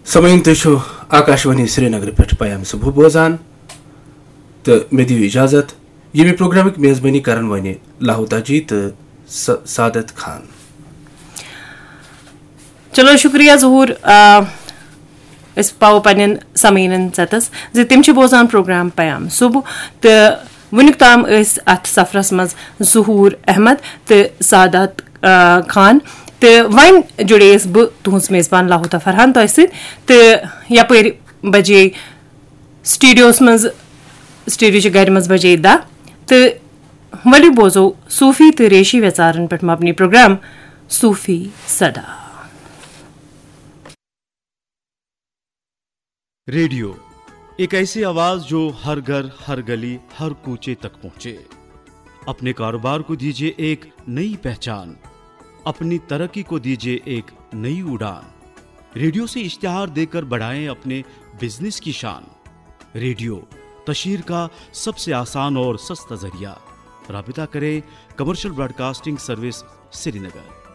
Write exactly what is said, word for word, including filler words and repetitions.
سامعین، تُہۍ چھِو آکاشوانی سرینگرٕ پٮ۪ٹھ پیام صبح بوزان تہٕ مےٚ دِیِو اجازت، ییٚمہِ پروگرامٕکۍ میزبٲنی کرن وۄنۍ لاہوتا جی تہٕ س-، سعادت خان۔ چلو، شُکریہ ظہوٗر۔ آ، أسۍ پاوو پننٮ۪ن سامعیٖنن ژٮ۪تس زِ تِم چھِ بوزان پروگرام پیام صبح، تہٕ وُنیُک تام ٲسۍ اتھ سفرس منٛز ظہوٗر احمد تہٕ سعادت، آ، خان۔ تہٕ وۄنۍ جُڑییس بہٕ تُہنٛز میزبان لاہوتا فرحان تۄہہِ سۭتۍ، تہٕ یپٲرۍ بجے سٹوڈیوس منٛز، سٹوڈیو چہِ گرِ منٛز بجے دَہ، تہٕ ؤلِو بوزو صوٗفی تہٕ ریشی ویژارن پٮ۪ٹھ مبنی پروگرام صوٗفی صدا۔ ریڈیو، ایک ایسی آواز جو ہر گھر، ہر گلی، ہر کوچے تک پہنچے۔ اپنے کاروبار کو دیجیے ایک نئی پہچان، اپنی ترقی کو دیجیے ایک نئی اڑان۔ ریڈیو سے اشتہار دیکر بڑھائیں اپنے بزنس کی شان۔ ریڈیو، تشہیر کا سب سے آسان اور سستا ذریعہ۔ رابطہ کریں کمرشل براڈکاسٹنگ سروس، سری نگر۔